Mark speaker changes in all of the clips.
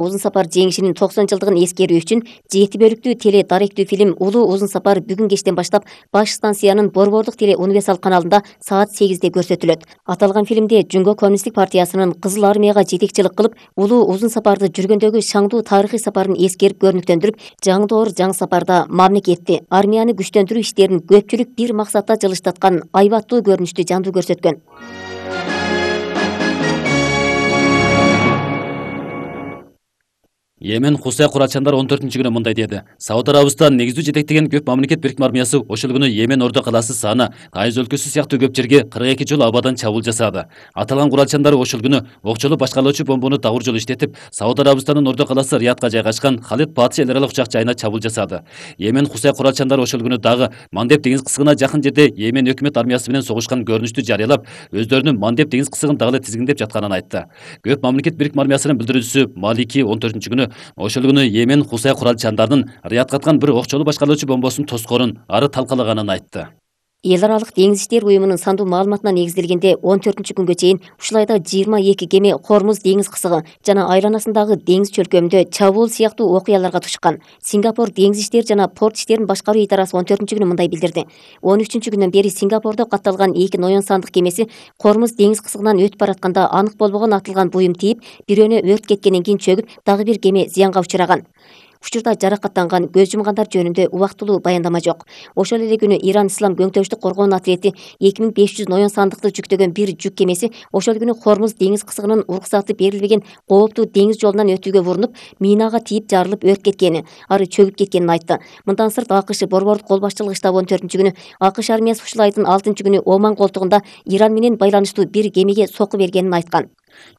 Speaker 1: Узун сапар жеңишинин 90 жылдыгын эскерүү үчүн 7 бөлүктүү теле даректүү фильм Улуу узун сапар бүгүн кечтен баштап баш станциянын Борбордук теле универсал каналында саат 8-де көрсөтүлөт. Аталган фильмде Жумго коммунисттик партиясынын Кызыл армияга жетекчилик кылып, улуу узун сапарды жүргөндөгү шаңдуу тарыхый сапарын эскерип көрүнүктөндүрүп, жаңы доор жаңы сапарда мамлекетти, армияны күчтөндүрүү иштерин көпчүлүк бир максатта жылыштаткан айбаттуу көрүнүштү жандуу көрсөткөн.
Speaker 2: Йемен Хусай курачандар 14-күнү мындай деди. Сауд Арабистан негиздүү жетектеген көп мамлекет бирикме армиясы ошол күнү Йемен Ордо калаасы Сана, Тайыз өлкөсү сыяктуу көп жерге 42 жолу абадан чабуул жасады. Аталган курачандар ошол күнү окчолуу башкарылуучу бомбону дагур жолу иштетип, Сауд Арабистанын Ордо калаасы Риядка жайгашкан Халид Патша эл аралык учак жайына чабуул жасады. Йемен Хусай курачандар ошол күнү дагы Мандеб деңиз кысыгына жакын жерде Йемен өкмөт армиясы менен согушкан көрүнүштү жарыялап, өздөрүнүн Мандеб деңиз кысыгын дагы эле тизгиндеп жатканын айтты. Көп мамлекет бирикме армиясынын билдирүүчүсү Малики 14-күнү ошол күнү Йемен Хусай куралчандардын Риядка аткан бир окчолуу башкарылуучу бомбосунун тоскоорун ары талкалаганын айтты.
Speaker 1: Эл аралык деңиз иштери уюмунун сандуу маалыматына негизделгенде 14-күнгө чейин ушулайда 22 кеме Хормуз деңиз кысыгы жана айланасындагы деңиз чөлкөмүндө чабуул сыяктуу окуяларга тушкан. Сингапур деңиз иштери жана порт иштерин башкаруу идарасы 14-күнү мындай билдирди. 13-күндөн бери Сингапурдо катталган 2 ноён сандык кемеси Хормуз деңиз кысыгынан өтүп баратканда анык болбогон атылган буюм тийип, бирөөнө өрт кеткенден кийин чөгүп, дагы бир кеме зыянга учураган. Учурда жаракаттанган, көз жумгандар жөнүндө убактылуу баяндама жок. Ошол эле күнү Иран Ислам көңтөштүк коргоон отряди 2500 ноён сандыкты жүктөгөн бир жүк кемеси ошол күнү Хормуз деңиз кысыгынын уруксаты берилбеген кооптуу деңиз жолунан өтүүгө урунуп, минага тийип жарылып өрт кеткени, ары чөгүп кеткенин айтты. Мындан сырт АКШ Борбордук кол башчылыгы штабы 14-күнү АКШ армиясы ушул айдын 6-күнү Оман колтугунда Иран менен байланыштуу бир кемеге сокку бергенин айткан.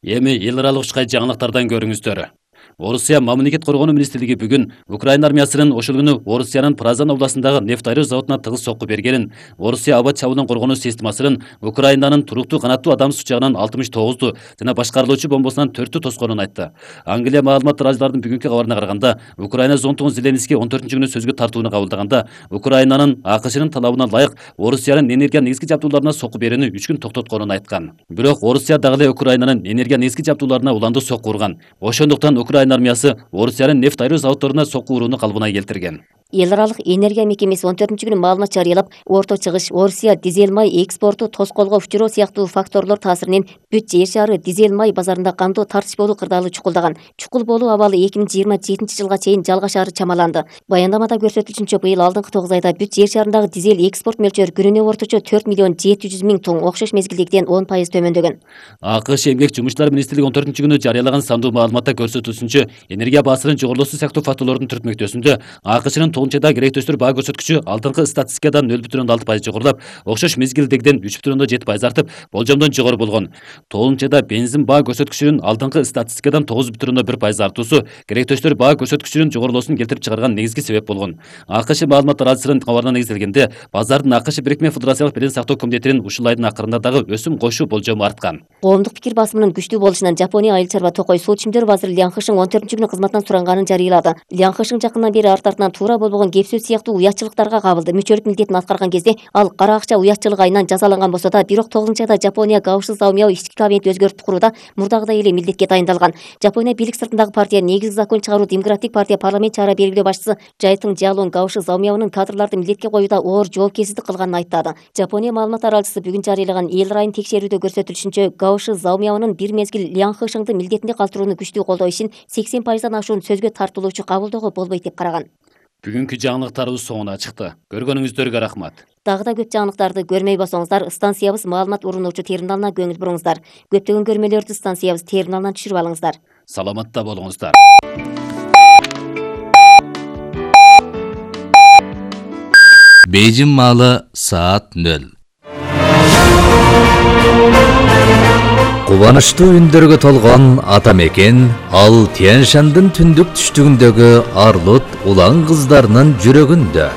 Speaker 2: Эми эл аралык ушкай жаңылыктардан көрүңүздөр. Орусия мамлекет коргонуу министрлиги бүгүн Украина армиясынын ошол күнү Орусиянын Празан областындагы нефть айруу заводуна тыгыз сокку бергенин, Орусия аба чабуулун коргонуу системасынын Украинанын туруктуу канаттуу адам сучагынан 69-ду жана башкарылуучу бомбосунан 4-тү тоскоонун айтты. Англия маалымат радиолордун бүгүнкү кабарына караганда, Украина зонтугу Зеленский 14-күнү сөзгө тартууну кабылдаганда, Украинанын АКШнын талабына ылайык Орусиянын энергия негизги жабдууларына сокку берүүнү 3 күн токтотконун айткан. Бирок Орусия дагы эле Украинанын энергия негизги жабдууларына уландуу сокку урган. Ошондуктан Украина армиясы Орусиянын нефть айруу заводдоруна сокку урууну калыбына келтирген.
Speaker 1: Эл аралык энергия мекемеси 14-күнү маалымат жарыялап, орто чыгыш Орусия дизель май экспорту тоскоолго учуроо сыяктуу факторлор таасиринен бүт жер шаары дизель май базарында кандуу тартыш болуу кырдаалы чукулдаган. Чукул болуу абалы 2027 жылга чейин жалгашаары чамаланды. Баяндамада көрсөтүлүшүнчө, быйыл алдыңкы 9 айда бүт жер шаарындагы дизель экспорт мөлчөрү күнүнө орточо 4 миллион 700 миң тонн, окшош мезгилдегиден 10% төмөндөгөн.
Speaker 2: АКШ эмгек жумушчулар министрлиги 14-күнү жарыялаган сандуу маалыматта көрсөтүлүшүнчө, энергия баасынын жогорулуусу сыяктуу факторлордун түртмөктөсүндө АКШнын толунчада керектөштөр баа көрсөткүчү алдыңкы статистикадан 0,6% жогорулап, окшош мезгилдегиден 3,7% артып, болжомдон жогору болгон. Толунчада бензин баа көрсөткүчүнүн алдыңкы статистикадан 9,1% артуусу керектөштөр баа көрсөткүчүнүн жогорулуусун келтирип чыгарган негизги себеп болгон. АКШ маалымат радиосунун кабарына негизделгенде, базардын АКШ бирикме федерациялык белен сактоо комитетинин ушул айдын акырында дагы өсүм коюшу болжому арткан.
Speaker 1: Коомдук пикир басымынын күчтүү болушунан Жапония айыл чарба токой суу чүмдөр вазиры Лян Хышың 14-күнү кызматтан суранганын жарыялады. Лян Хышың жакындан бери артынан туура болбогон кеп сөз сыяктуу уятчылыктарга кабылды. Мүчөлүк милдетин аткарган кезде ал кара акча уятчылыгы айынан жазаланган болсо да, бирок 9-айда Жапония Гаоши Заумяо ички кабинет өзгөртүп курууда мурдагыдай эле милдетке дайындалган. Жапония бийлик сыртындагы партия негизги закон чыгаруу Демократик партия парламент чара белгилөө башчысы Жайтың Жаалун Гаоши Заумяонун кадрларды милдетке коюуда оор жоопкерсиздик кылганын айттады. Жапония маалымат аралчысы бүгүн жарыялаган эл райын текшерүүдө көрсөтүлүшүнчө, Гаоши Заумяонун бир мезгил Лян Хышыңды милдетинде калтырууну күчтүү колдоо ишин 80%дан ашуун сөзгө тартылуучу кабылdoого болбойт деп караган.
Speaker 2: Бүгүнкү жаңылыктарыбыз соңуна чыкты. Көргөнүңүздөргө рахмат.
Speaker 1: Дагы да көп жаңылыктарды көрмөй болсоңуздар, станциябыз маалымат урунуучу терминалына көңүл буруңуздар. Көптөгөн көрмөлөрдү станциябыз терминалынан түшүрүп алыңыздар.
Speaker 2: Саламатта болуңуздар.
Speaker 3: Бейжин маалы саат 0. Кубанычтуу үндөргө толгон ата мекен ал Тянь-Шандын түндүк түштүгүндөгү арлут улан кыздарынын жүрөгүндө.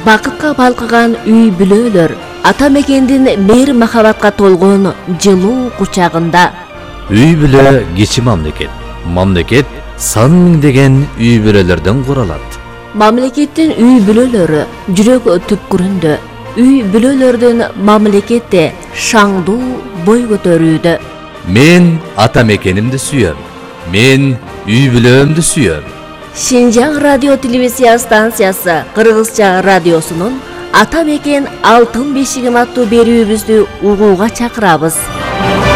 Speaker 4: Бакытка балкыган үй бүлөлөр ата мекендин мейир махабатка толгон жылуу кучагында.
Speaker 3: Үй бүлө кичи мамлекет. Мамлекет сан миңдеген үй бүлөлөрдөн куралат.
Speaker 4: Мамлекеттин үй бүлөлөрү жүрөк түпкүрүндө. Үй бүлөлөрдүн мамлекетте шаңдуу бой көтөрүүдө.
Speaker 3: Мен ата мекенимди сүйөм. Мен үй бүлөмдү сүйөм.
Speaker 4: Шинжаң радио телевизия станциясы Кыргызча радиосунун Ата мекен алтын бешигим аттуу берүүбүздү угууга чакырабыз.